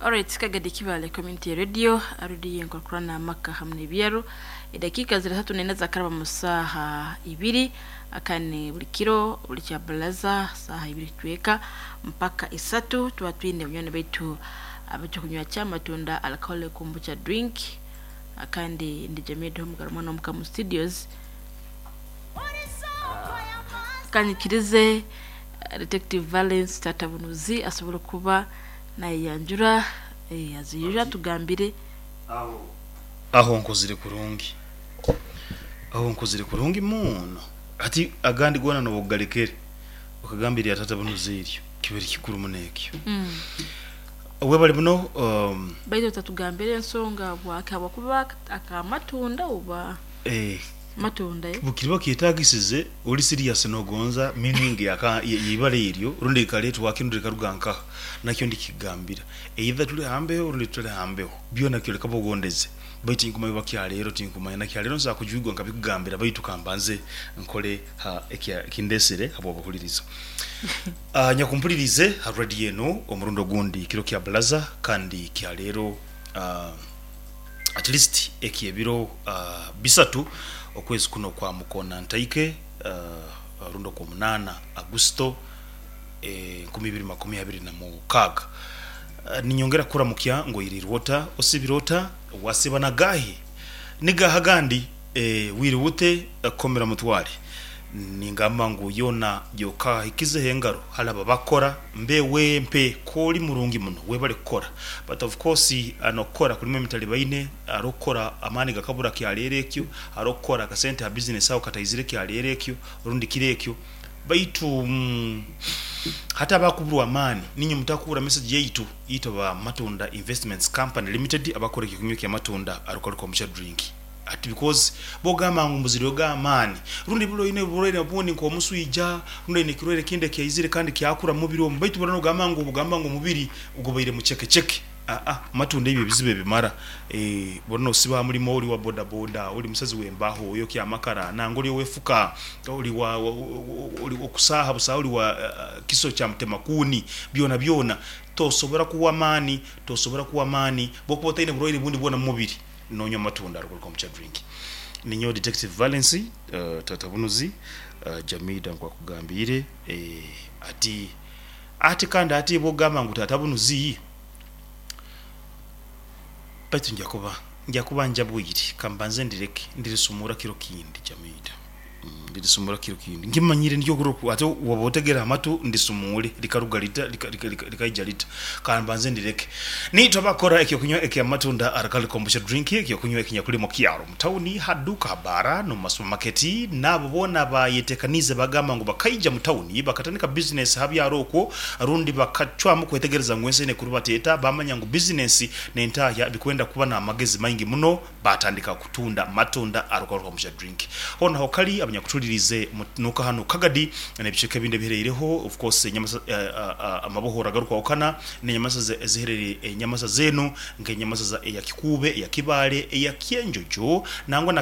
Alright, Kagadi Kibale Community Radio, arudi yenkorkorana amaka hamwe n'ebyaro. Edakiika ziri 34 zakaraba mu saaha 2, akane buli kiro buli kya balaza saaha 2 tweka mpaka 3 tuba twine bunywani baitu abatukunywa ky'amatunda alcoholic kombucha drink. Akandi ndi Jamie Homugaro mwana omuka mu studios. Kanyikirize Detective Valence Tata Bunuzi asobola kuba nayeyanjura, aziyura tugambire. Aho nkozire kurungi, aho nkozire kurungi muno. Ati agandi gona nobugalekere okagambira Tata Bunuzi, eryo kibere kikuru muno ekyo. Webale muno. Baitu tatugambire ensonga bwake habwokuba akamatunda oba matunda, eh? Bukiriba kyetagisize oli serious nogonza meaning yaka yibala eryo rundi likaletwa rundi likaruga nkaha, nakyo ndikigambira, either tuli hambeho rundi tutali hambeho, byona kyoleka bugondeze. Baitu tinkumanya bakyaleero, tinkumanya nakyaleero nsobola kujwigwa nkabikugambira, baitu kambanze nkole ha kindesere habwobuhuliriza. Nyakumpulirize ha radio eno omurundi ogundi kiro kya balaza kandi kyaleero, at least ekyebiro 3 okwezi kuno kwa mukona ntaike, rundi okwomunaana Agusto 2026. Ninyongera kuramukya ngoirirwe ota, osibire ota, wasiba nagahi nigaha gandi, wiriwute komera mutware. Ningamba ngu yona yokahikizeho engaro halaba bakora mbe mpe koli murungi muno, webale kukora. But of course nokukora kulimu emitalibaine. Arokukora amaani gakabura kyaleero ekyo, arokukora akasente ha business aho kataizire kyaleero ekyo rundi kiro ekyo. Baitu hati abakuburwa amaani, ninye mutakura message yaitu itwe ba Matunda Investments Company Limited, abakora ekyokunywa kya matunda arukaruka kombucha drink. Ati because bogamba ngu mbuzire ga amaani rundi buli oine oburwaire obundi nk'omuswija rundi oine ekirwaire ekindi ekyaizire kandi kyakura mu mubiri omu, baitu bura nogamba ngu obugamba ngu omubiri gubaire mucekeceke. Aa, matunda ebyo ebizibu ebimara. Bura nosiba mulimo, oli wa boda boda, oli musazi w'embaho, oyokya amakara, nanga oli owefuka, oli wa oli okusaha busaha, oli wa kiso kya mutemakuni, byona byona tosobora kuwa amaani, tosobora kuwa amaani bwokuba otaine burwaire bundi bwona mu mubiri nonywa amatunda arukuruka omu drink. Ninyowe Detective Valence Tata Bunuzi Jamida nkwakugambiire, ati ati kandi ati bwogamba ngu Tata Bunuzi, baitu nja kuba njabwire, kambanze ndireke ndirisumura kiro kindi. Jamida, ndirisumura kiro kindi, nkimanyire ndyo ate woba otegera amatu ndisumule likaruga lita likaija lita, kambanze ndireke. Nitwe bakora ekyokunywa ekyamatunda arakali kombucha drink, ekyokunywa ekinyakulimo kyaro mutauni haduka habara no masupamaketi. Nabo bona bayetekanize bagamba ngu bakaija mutauni bakatandika business habyaro okwo rundi bakacwamu kwetegereza ngu ensi nekuru bateta, bamanya ngu business nentahya bikwenda kuba n'amagezi maingi muno, batandika kutunda matunda arukaruka kombucha drink. Honaho kali abanyakutulirize nuka hano Kagadi n'ebicweka ebindi ebihereireho, of course enyamasa, amabohoro agarukwahukana n'enyamasa eziherereye enyamasa zenu nk'enyamasa eya Kikuube, eya Kibaale, eya Kyenjojo, nangwa na